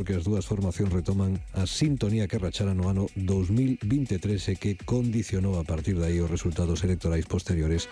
porque as dúas formacións retoman a sintonía que rachara no ano 2023 e que condicionou a partir de aí os resultados electorais posteriores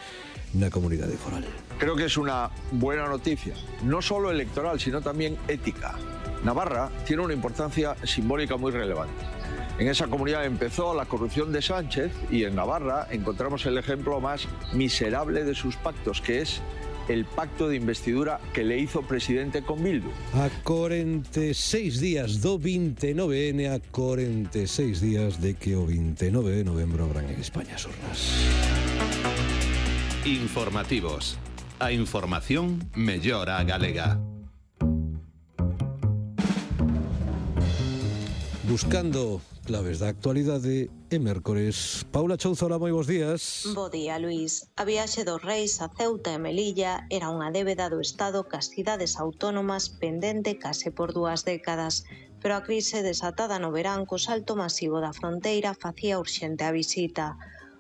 na comunidade foral. Creo que es una buena noticia, no solo electoral, sino también ética. Navarra tiene una importancia simbólica muy relevante. En esa comunidad empezó la corrupción de Sánchez y en Navarra encontramos el ejemplo más miserable de sus pactos, que es el pacto de investidura que le hizo presidente con Bildu. A 46 días do 29N, a 46 días de que o 29 de novembro abran en España as urnas. Informativos. A información mellora a galega. Buscando claves da actualidade e mércores. Paula Chouzola, moi bons días. Bo día, Luís. A viaxe dos reis a Ceuta e Melilla era unha débeda do Estado cas cidades autónomas pendente case por 2 décadas, pero a crise desatada no verán co salto masivo da fronteira facía urxente a visita.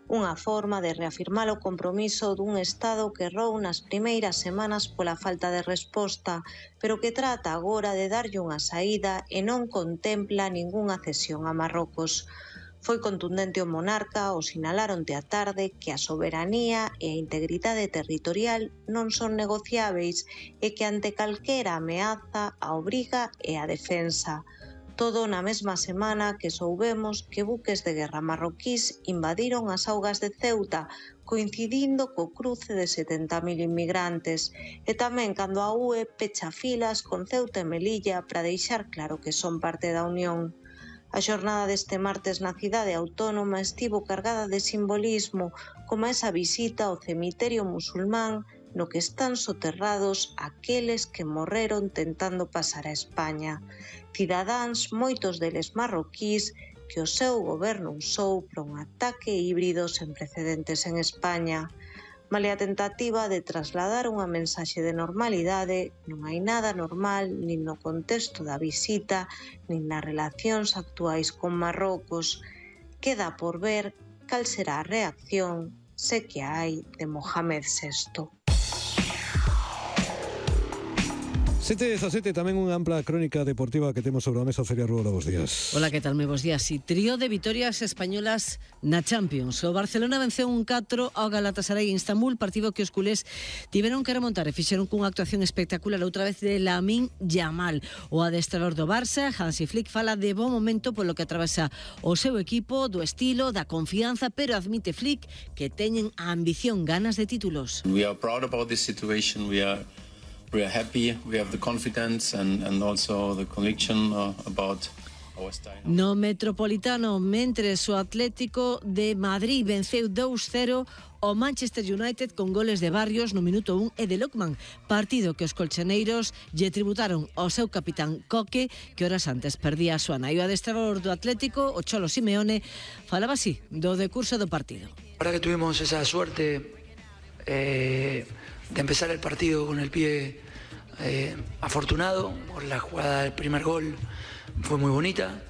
Unha forma de reafirmar o compromiso dun Estado que errou nas primeiras semanas pola falta de resposta, pero que trata agora de darlle unha saída e non contempla ningunha cesión a Marrocos. Foi contundente o monarca ao sinalar onte á tarde que a soberanía e a integridade territorial non son negociáveis e que ante calquera ameaza a obriga e a defensa. Todo na mesma semana que soubemos que buques de guerra marroquís invadiron as augas de Ceuta, coincidindo co cruce de 70.000 inmigrantes, e tamén cando a UE pecha filas con Ceuta e Melilla para deixar claro que son parte da Unión. A xornada deste martes na cidade autónoma estivo cargada de simbolismo, como esa visita ao cemiterio musulmán no que están soterrados aqueles que morreron tentando pasar a España. Cidadáns, moitos deles marroquís, que o seu goberno usou para un ataque híbrido sen precedentes en España. Malia a tentativa de trasladar unha mensaxe de normalidade, non hai nada normal nin no contexto da visita, nin nas relacións actuais con Marrocos. Queda por ver cal será a reacción, se que hai, de Mohamed VI. 7:17, tamén unha ampla crónica deportiva que temos sobre a mesa. Celia Ruola, bons días. Hola, que tal? Moi bons días. E trío de vitorias españolas na Champions. O Barcelona venceu 1-4 ao Galatasaray en Istambul, partido que os culés tiveron que remontar e fixeron cunha actuación espectacular outra vez de Lamine Yamal. O adestrador do Barça, Hansi Flick, fala de bo momento polo que atravesa o seu equipo, do estilo, da confianza, pero admite Flick que teñen a ambición, ganas de títulos. We are proud about this situation. We are happy, we have the confidence and also the conviction about our style. No Metropolitano, mentres o Atlético de Madrid venceu 2-0 o Manchester United con goles de Barrios no minuto 1 e de Lookman, partido que os colchoneiros lle tributaron ao seu capitán Coque, que horas antes perdía a súa nai. O adestrador do Atlético, o Cholo Simeone, falaba así do decurso do partido. Ahora que tuvimos esa suerte de empezar el partido con el pie afortunado, por la jugada del primer gol fue muy bonita.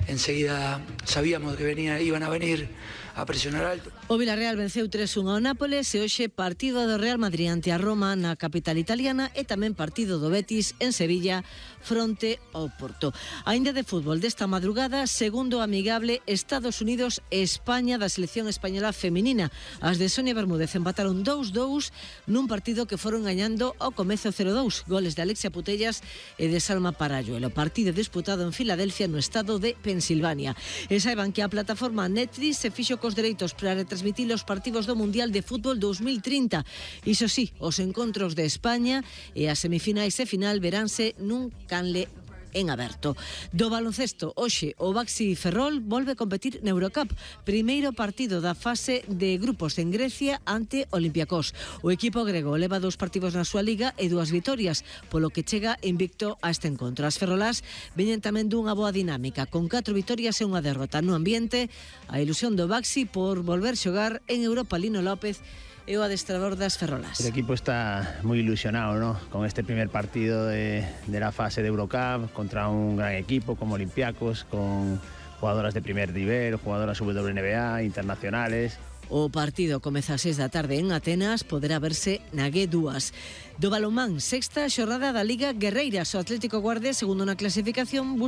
Enseguida sabíamos que iban a venir a presionar alto. O Villarreal venceu 3-1 ao Nápoles e hoxe partido do Real Madrid ante a Roma na capital italiana e tamén partido do Betis en Sevilla fronte ao Porto. Aínda de fútbol desta madrugada, segundo amigable Estados Unidos-España da selección española feminina. As de Sonia Bermúdez empataron 2-2 nun partido que foron gañando ao comezo 0-2, goles de Alexia Putellas e de Salma Paralluelo. Partido disputado en Filadelfia no estado de Pensilvania. E saiban que a plataforma Netflix se fixo cos dereitos para retransmitir os partidos do Mundial de Fútbol 2030. Iso sí, os encontros de España e as semifinais e final veránse nun canle en aberto. Do baloncesto, hoxe o Baxi Ferrol volve a competir na Eurocup, primeiro partido da fase de grupos en Grecia ante Olympiacos. O equipo grego leva 2 partidos na súa liga e 2 vitorias, polo que chega invicto a este encontro. As ferrolás veñen tamén dunha boa dinámica, con 4 vitorias e unha derrota. No ambiente, a ilusión do Baxi por volver xogar en Europa. Lino López é o adestrador das ferrolas. El equipo está muy ilusionado, ¿no?, con este primer partido de la fase de Eurocup contra un gran equipo como Olympiacos, con jugadoras de primer nivel, jugadoras WNBA, internacionales. O partido comeza ás 6 da tarde en Atenas, poderá verse na G2. Do balonmán, sexta xornada da Liga Guerreiras. O Atlético Guardia, segundo na clasificación, busca